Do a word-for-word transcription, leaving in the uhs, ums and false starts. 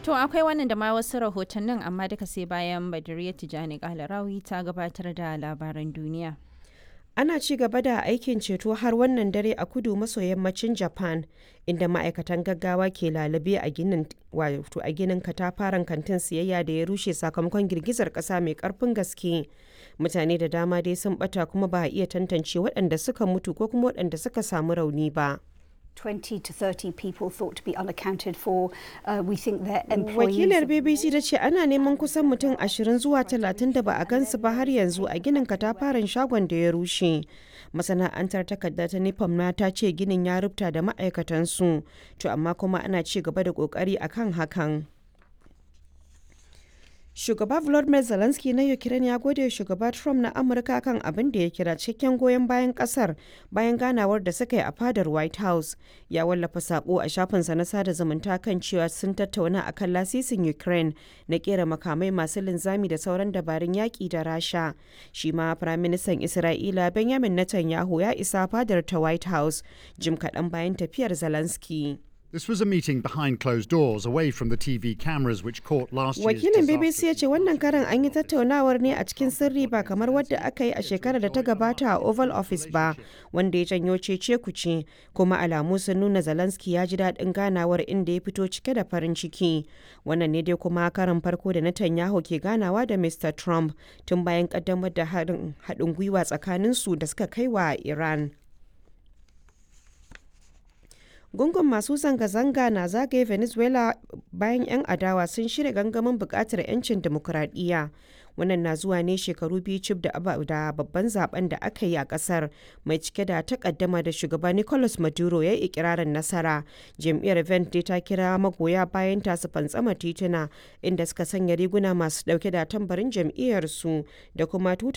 To akwai wannan da ma wasu rahotannin amma duka sai bayan Badiriya Tijani Kalarawi ta gabatar da labaran duniya. Ana ci gaba da aikin ceto har wannan dare a kudu maso yammacin Japan, inda ma'aikatan gaggawa ke lalube a ginin wato a ginin katafaren kantin siyayya da ya rushe sakamakon girgizar kasa mai karfin gaske. Mutane da dama dai sun bata kuma ba a iya tantance waɗanda suka mutu ko kuma waɗanda suka samu rauni ba. twenty to thirty people thought to be unaccounted for. Uh, we think their employees. Wakilar B B C ta ce ana neman kusan mutum ashirin zuwa talatin da ba a gansu ba har yanzu a ginin katafaren shagon da ya rushe. Masana'antar takarda ta Nippon na ta ce ginin ya rubuta da ma'aikatansu, to amma kuma ana ci gaba da kokari akan hakan. Shugaba Volodymyr Zelensky na Ukraine ya gode shugaba Trump na Amurka kan abin da ya kira cikakken goyon bayan kasar bayan ganawar da suka yi a fadar White House. Ya wallafa sako a shafinsa na sada zumunta kan cewa sun tattauna akan lasisin Ukraine na kera makamai masu linzami da sauran dabarun yaƙi da Rasha. Shi ma Firaministan Isra'ila Benjamin Netanyahu ya isa fadar ta White House jim kaɗan bayan tafiyar Zelensky. This was a meeting behind closed doors, away from the T V cameras which caught last year's Wakilin B B C ya disaster. ce wannan karan an yi tattaunawar ne a cikin sirri ba kamar wadda aka yi a shekarar da ta gabata a Oval Office ba, wanda ya janyo cece kuce, kuma alamu sun nuna Zelensky ya ji daɗin ganawar inda ya fito cike da farin ciki. Wannan ne dai kuma karan farko da Netanyahu ke ganawa da Mister Trump tun bayan kaddamar da haɗin gwiwa tsakaninsu da suka kai wa Iran. Gungun masu zanga-zanga na zagaye Venezuela bayan 'yan adawa sun shirya gangamin bukatar 'yancin demokuraɗiyya. Wannan na zuwa ne shekaru biyu cif da babban zaben da aka yi a kasar mai cike da takaddama da shugaba Nicolas Maduro ya yi ikirarin nasara. Jam'iyyar Vente ta kira magoya bayan ta su fantsama tituna, inda suka sanya riguna masu dauke da tambarin jam'iyyarsu da kuma tutar